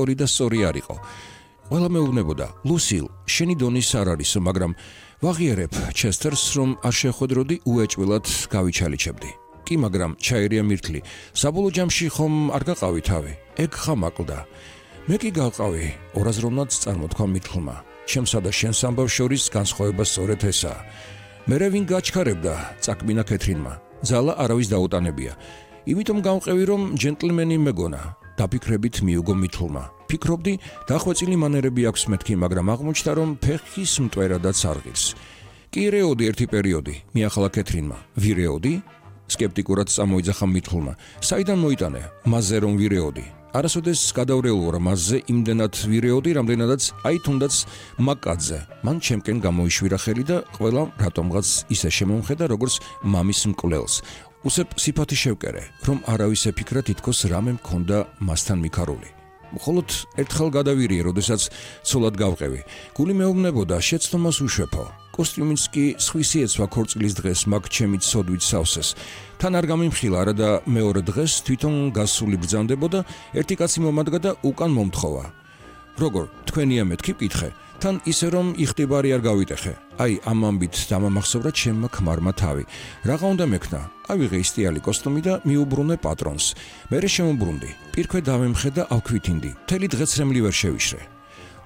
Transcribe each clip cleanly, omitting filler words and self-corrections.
ორი და სწორი არ იყო. ყველა მეუბნებოდა, ლუსილ, შენი დონის არ არისო, მაგრამ ვაღიარებ ჩესტერს, რომ არ შეხვედროდი უეჭველად გავიჩალიჩებდი. კი, მაგრამ ჩაერია მირთლი. საბოლოო ჯამში ხომ არ გაყავი თავი? ეგ ხამაკლდა. მე კი გავყავი, ორაზროვნად წარმოთქვა მირთლმა. ჩემსა და შენს ამბავს შორის განსხვავება სწორედ ესაა. მერე ვინ გაჩქარებდა, წაკმინა კეთრინმა. ძალა არავის დაუტანებია. იმიტომ გავყევი, რომ ჯენტლმენი მეგონა. დაფიქრებით მიუგო მირთლმა. ფიქრობდი, დახვეწილი მანერები აქვს მეთქი, მაგრამ აღმოჩნდა, რომ ფეხის მტვერადაც არ ღირს. კი რეოდი ერთი პერიოდი, მიახლა კეთრინმა. ვირეოდი? სკეპტიკურად წამოიძახა მირთლმა. საიდან მოიტანე? მასზე რომ ვირეოდი. არასოდეს გადავრეულ ვარ მასზე იმდენად ვირეოდი, რამდენადაც აი თუნდაც მაკაძე. მან ჩემკენ გამოიშვირა ხელი და ყველა რატომღაც ისე შემომხედა, როგორც მამის მკვლელს. უსებ სიფათი შევკერე, რომ არავის ეფიქრა თითქოს რამე მქონდა მასთან მიქარული. მხოლოდ ერთხელ გადავირიე, როდესაც ცოლად გავყევი. გული მეუბნებოდა, შეცდომას უშვეფო. კოსტიუმიც კი სხვისი ეცვა ქორწილის დღეს მაგ ჩემით სოდვით სავსეს. თან არ გამიმხილა არა და მეორე დღეს თვითონ გასული ბრძანდებოდა, ერთი კაცი მომადგა და უკან მომთხოვა. როგორ, თქვენია მეთქი ვკითხე, თან ისე რომ იხტიბარი არ გავიტეხე. აი ამ ამბით დამამახსოვრა ჩემმა ქმარმა თავი. რაღა უნდა მექნა? ავიღე ისტიალი კოსტუმი და მიუბრუნე პატრონს. მერე შემოbrunდი. პირქვე დავემხე და ავქვითინდი. მთელი დღეც რემლი ვერ შევიშრე.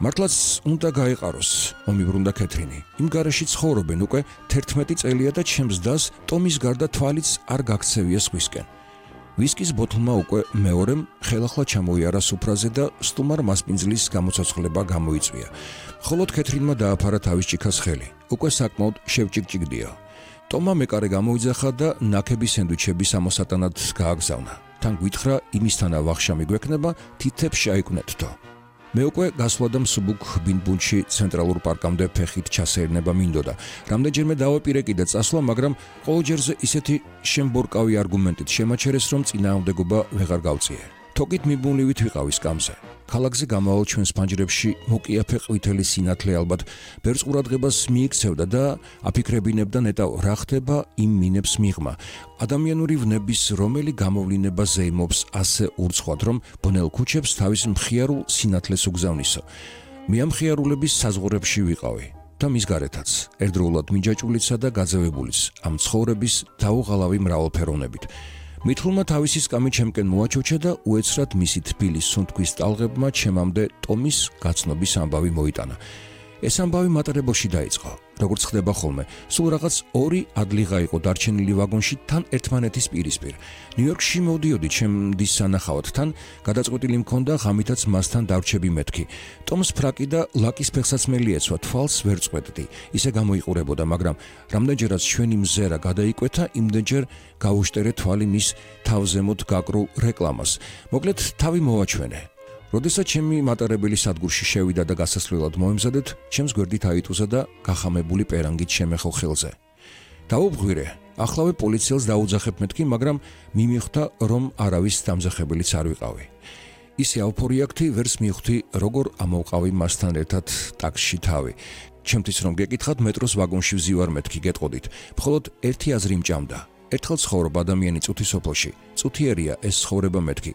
მართლაც უნდა გაეყაროს, მომიბრუნდა კეთრინი. იმ გარეში ცხოვრობენ უკვე 11 წელია და ჩემს დას ტომის გარდა თვალიც არ გაქცევია სხვისკენ. ვისკის ბოთლმა უკვე მეორემ ხელახლა ჩამოიარა სუფრაზე და სტუმარ მასპინძლის გამოცოცხლება გამოიწვია. მხოლოდ კეთრინმა დააფარა თავის ჭიქას ხელი. უკვე საკმაოდ შევჭიკჭიკდია. ტომა მეკარე გამოიძახა და ნაქები სენდვიჩების ამოსატანად გააგზავნა. თან გვითხრა, იმისთანა ვახშამი გვექნება, თითებს შეაიკვნეთთო. მე უკვე გასვლა და მსუბუქ ბინბუნში ცენტრალურ პარკამდე ფეხით ჩასეირნება მინდოდა. რამდენჯერმე დავაპირე კიდე წასვლა, მაგრამ ყოველჯერზე ისეთი შემბორკავი არგუმენტით შემაჩერეს, რომ წინააღმდეგობა ვეღარ გავწიე. თოკით მიბუნლივით ვიყავი სკამზე. ქალაქზე გამავალ ჩვენს ფანჯრებში მოკიაფე ყვითელი სინათლე ალბათ ბერს ყურადღებას მიიქცევდა და აფიქრებინებდა ნეტავ რა ხდება იმ მინებს მიღმა. ადამიანური ვნების რომელი გამოვლინება ზეიმობს ასე ურცხვად, რომ ბნელ ქუჩებს თავის მხიარულ სინათლეს უგზავნისო. მე ამ მხიარულების საზღვრებში ვიყავი და მის გარეთაც, ერთდროულად მიჯაჭვულისა და გაძევებულიც, ამ ცხოვრების დაუღალავი მრავალფეროვნებით. მითლმა თავისი სკამი ჩემკენ მოაჩოჩა და უეცრად მისი თბილის სუნთქვის ტალღებმა ჩემამდე ტომის გაცნობის ამბავი მოიტანა. ეს ამბავი მატრებოში დაიწყო. როგორც ხდება ხოლმე, სულ რაღაც ორი ადლიღა იყო დარჩენილი ვაგონში თან ერთმანეთის პირისპირ. ნიუ-იორკში მოვდიოდი ჩემდის სანახავად, თან გადაწყვეტილი მქონდა ღამითაც მასთან დავრჩები მეთქი. ტომს ფრაკი და ლაკის ფეხსაცმელი ეცვა, თვალს ვერ წყვეტდი. ისე გამოიყურებოდა, მაგრამ რამდენჯერაც ჩვენი მზერა გადაიკვეთა, იმდენჯერ გავუშტერე თვალი მის თავზემოთ გაკრულ რეკლამას. მოკლედ თავი მოვაჩვენე. როდესაც ჩემი მატარებელი სადგურში შევიდა და გასასვლელად მოემზადეთ, ჩემს გვერდით აიტუზა და გახამებული პერანგით შემეხო ხელზე. დავუბღვირე, ახლავე პოლიციელს დაუძახებ მეთქი, მაგრამ მიმიხვდა, რომ არავის დამზახებელიც არ ვიყავი. ისე ავფორიაქტი ვერს მივხვდი, როგორ ამოვყავი მასთან ერთად ტაქსში თავი. ჩემთვის რომ გეკითხათ, მეტროს ვაგონში ვზივარ მეთქი, გეტყოდით. მხოლოდ ერთი აზრი მჭამდა. ერთხელ ცხოვრობ ადამიანი წუთი სოფელში, წუთიერია ეს ცხოვრება მეთქი.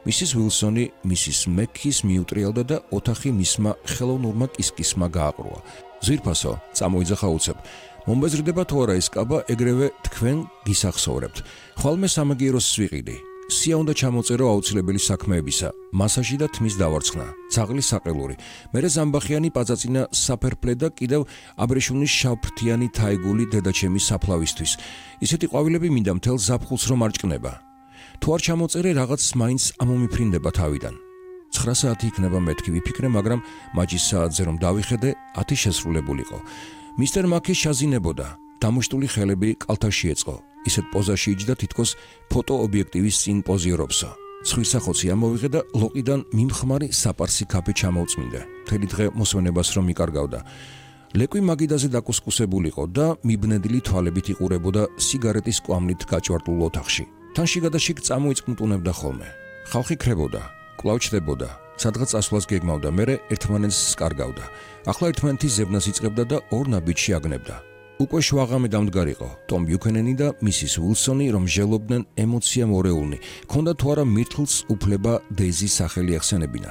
მისის ვილსონი მისის მეკის მიუტრიალდა და ოთახი მისმა ხელოვნურმა კისკისმა გააყრუა. ზვირფასო, წამოიძახა უცებ. მომბეზრდება თუ არა ეს კაბა, ეგრევე თქვენ გისახსოვრებთ. ხვალმე სამაგიეროს ვიყიდი. სია უნდა ჩამოწერო აუცილებელი საქმეებისა, მასაჟი და თმის დავარცხნა, ძაღლი საყელური. მერე ზამბახიანი პაწაწინა საფერფლე და კიდევ აბრეშუმის შავფრთიანი თაიგული დედაჩემის საფლავისთვის. ისეთი ყვავილები მინდა მთელ ზაფხულს რომ არ ჭკნება. თუ არ ჩამოწერე, რაღაც მაინც ამომიფრინდება თავიდან. 9 საათი იქნება მეთქი ვიფიქრე, მაგრამ მაჯის საათზე რომ დავიხედე, 10 შესრულებულიყო. მისტერ მაკი შაზინებოდა, დამუშტული ხელები კალთაში ეწყო. ისეთ პოზაში იჯდა, თითქოს ფოტოობიექტივის წინ პოზიორობსო. ცხვირსახოცი ამოვიღე და ლოყიდან მიმხმარი საპარსი კაფე ჩამოვწმინდა. მთელი დღე მოსვენებას რომ მიკარგავდა. ლეკვი მაგიდაზე დაკუსკუსებულიყო და მიბნედილი თვალებით იყურებოდა სიგარეტის კვამლით გაჭვარტულ ოთახში. თან შიგადაშიგ წამოიწმტუნებდა ხოლმე. ხალხი ქრებოდა, კვლავ ჩდებოდა, სადღაც წასვლას გეგმავდა, მერე ერთმანეთს კარგავდა. ახლა ერთმანეთის ზებნას იწყებდა და ორ ნაბიჯში აგნებდა. უკვე შვაღამე დამდგარიყო. ტომ ბიუქენენი და მისის უილსონი რომ ჟელობდნენ ემოცია მორეულნი. ქონდა თუ არა მირთლს უფლება დეიზის სახელი ახსენებინა.